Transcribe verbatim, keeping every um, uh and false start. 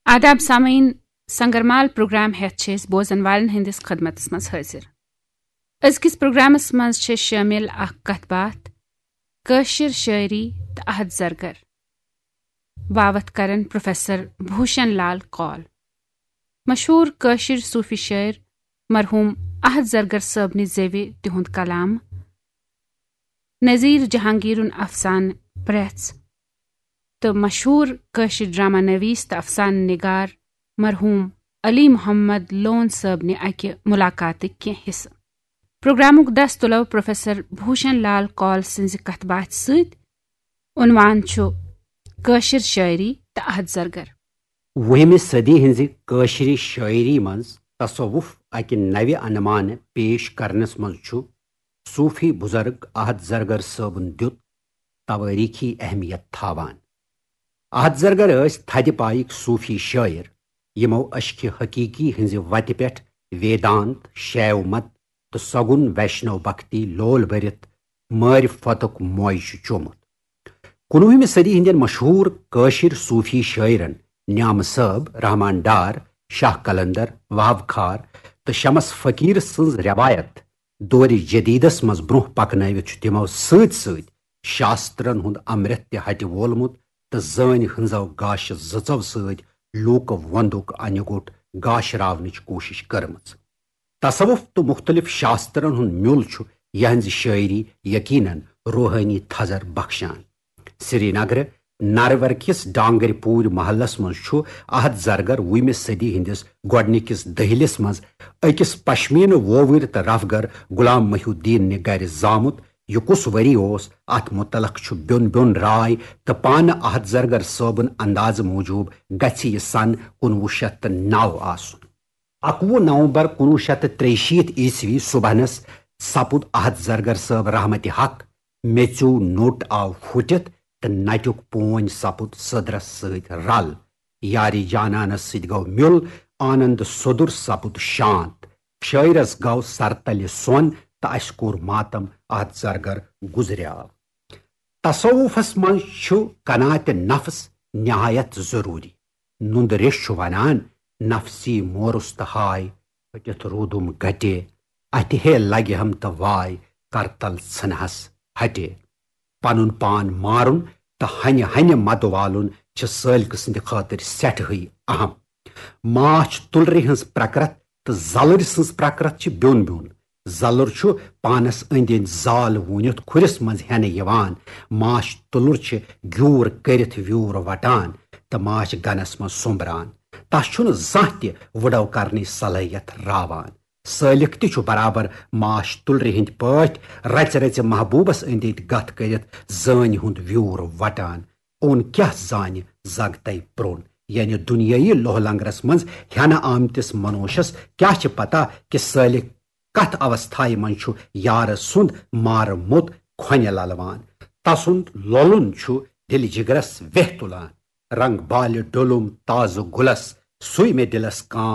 آداب سامعین، سنگرمال پروگرام ہیتھ چھِ أسۍ بوزن والٮ۪ن ہٕنٛدِس خدمتس منٛز حٲضِر۔ أزکِس پروگرامس منٛز چھِ شٲمِل اکھ کتھ باتھ کٲشِر شٲعری تہٕ احد زرگر۔ باوتھ کرن پروفیسر بھوشن لال کول، مشہوٗر کٲشِر صوٗفی شٲعر مرحوٗم احد زرگر صٲبنہِ زیوِ تِہُنٛد کلام، نذیر جہانگیرُن افسانہٕ پرٛٮ۪ژھ تہٕ مشہوٗر کٲشِر ڈرامہ نویس تہٕ افسانہٕ نگار مرحوٗم علی محمد لون صٲبنہِ اکہِ ملاقاتٕکۍ کینٛہہ حصہٕ۔ پروگرامُک دس تُلو پروفیسر بھوشن لال کول سٕنٛزِ کتھ باتھِ سۭتۍ۔ عنوان چھُ کٲشِر شٲعری تہٕ احد زرگر۔ وُہمہِ صدی ہٕنٛزِ کٲشرِ شٲعری منٛز تصوف اکہِ نوِ عنمانہٕ پیش کرنس منٛز چھُ صوفی بزرگ احد زرگر صٲبُن دیُت توٲریخی اہمیت تھاوان۔ احد زرگر ٲسۍ تھدِ پایِکۍ صوفی شٲعر، یِمو عشقِ حقیقی ہٕنٛزِ وتہِ پٮ۪ٹھ ویدانت، شیو مت تہٕ سگُن ویشنو بھکتی لول بٔرِتھ معرفتُک مویہِ چھُ چومُت۔ کُنوُہمہِ صدی ہٕنٛدٮ۪ن مشہوٗر کٲشِر صوفی شٲعرن نعمہٕ صٲب، رحمان ڈار، شاہ قلندر، وہاب خار تہٕ شمس فقیر سٕنٛز روایت دورِ جدیدس منٛز برونٛہہ پکنٲوِتھ چھُ تِمو سۭتۍ سۭتۍ شاسترن ہُنٛد امرت تہِ ہٹہِ وولمُت تہٕ زٲنۍ ہٕنٛزو گاشہِ زٕژو سۭتۍ لوٗکہٕ وۄندُک انہِ گوٚٹ گاشراونٕچ کوٗشش کٔرمٕژ۔ تصوف تہٕ مُختٔلِف شاسترن ہُنٛد میُل چھُ یِہنٛزِ شٲعری یقیناً روحٲنی تھزر بخشان۔ سرینگرٕ نارور کِس ڈانگرِ پوٗرۍ محلس منٛز چھُ احد زرگر وُہمہِ صدی ہٕنٛدِس گۄڈٕنِکِس دٔہلِس منٛز أکِس پشمینہٕ وووٕرۍ تہٕ رفگر غلام محی الدین نہِ گرِ زامُت۔ یہِ کُس ؤری اوس، اتھ متعلق چھُ بیوٚن بیوٚن راے، تہٕ پانہٕ احد زرگر صٲبُن اندازٕ موٗجوٗب گژھِ یہِ سن کُنوُہ شیٚتھ تہٕ نَو آسُن۔ اکوُہ نومبر کُنوُہ شیٚتھ تہٕ ترٛیہِ شیٖتھ عیسوی صبحنس سپُد احد زرگر صٲب رحمتِ حق۔ میٚژِو نوٚٹ آو پھُٹِتھ تہٕ نٹیُک پونۍ سپُد سٔدرس سۭتۍ رل۔ یارِ جانانس سۭتۍ گوٚو میُل، آنند سوٚدُر سپُد شانت۔ شٲعرس گوٚو سرتلہِ سۄن تہٕ اسہِ کوٚر ماتم، احد زرگر گُزریاو۔ تصوفس منٛز چھُ قناعتِ نفس نہایت ضروٗری۔ نُندٕ ریٚش چھُ ونان، نفسی مورُس تہٕ ہاے، پھٔٹِتھ روٗدُم گٹے، اتہِ ہے لگہِ ہم تہٕ واے، کرتل ژھنہس ہٹے۔ پنُن پان مارُن تہٕ ہنہِ ہنہِ مدٕ والُن چھِ سٲلکہٕ سٕنٛدِ خٲطرٕ سٮ۪ٹھاہٕے اہم۔ ماچھ تُلرِ ہٕنٛز پرکرت تہٕ زلٕرۍ سٕنٛز پرکرت چھِ بیوٚن بیوٚن۔ زلُر چھُ پانس أنٛدۍ أنٛدۍ زال ووٗنِتھ کھُرِس منٛز ہٮ۪نہٕ یِوان۔ ماچھ تُلُر چھِ گیوٗر کٔرِتھ ویوٗر وٹان تہٕ ماچھ گنس منٛز سوٚمبران۔ تس چھُنہٕ زانٛہہ تہِ وُڈو کرنٕچ صلٲحیت راوان۔ سٲلِک تہِ چھُ برابر ماچھ تُلرِ ہٕنٛدۍ پٲٹھۍ رژِ رژِ محبوٗبس أنٛدۍ أنٛدۍ گتھ کٔرِتھ زٲنۍ ہُنٛد ویوٗر وٹان۔ اوٚن کیٛاہ زانہِ زگ تَے پرٛوٚن، یعنی دُنیٲیی لوہ لنگرس منٛز ہٮ۪نہٕ آمتِس منوشس کیٛاہ چھِ پتہ کہِ سٲلِک کتھ اوستھایہِ منٛز چھُ یارٕ سُنٛد مارٕ موٚت کھۄنہِ للوان۔ تسُنٛد لولُن چھُ دِلہِ جگرس ویہ تُلان۔ رنگ بالہِ ڈوٚلُم تازٕ گُلس، سُے مےٚ دِلس کام